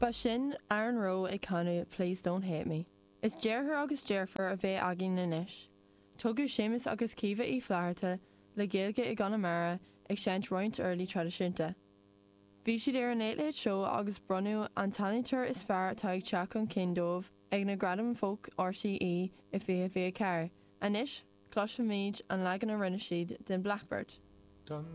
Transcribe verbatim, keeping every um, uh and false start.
Ba sin Aaron Rowe ag canadh Please Don't Hate Me. Is deartháir agus deirfiúr a bheidh againn anois. Tugadh Séamus agus Caoimhe Uí Fhlatharta le Gaeilge i gConamara ag seinnt roinnt uirlisí traidisiúnta. Bhí siad ar an Late Late Show agus bronnadh an t-ealaíontóir is fearr atá ag teacht chun cinn dóibh ag na Gradaim Folk RTÉ i fiche fiche ceathair. Anois cloisfimid an leagan a rinne siad den Blackbird.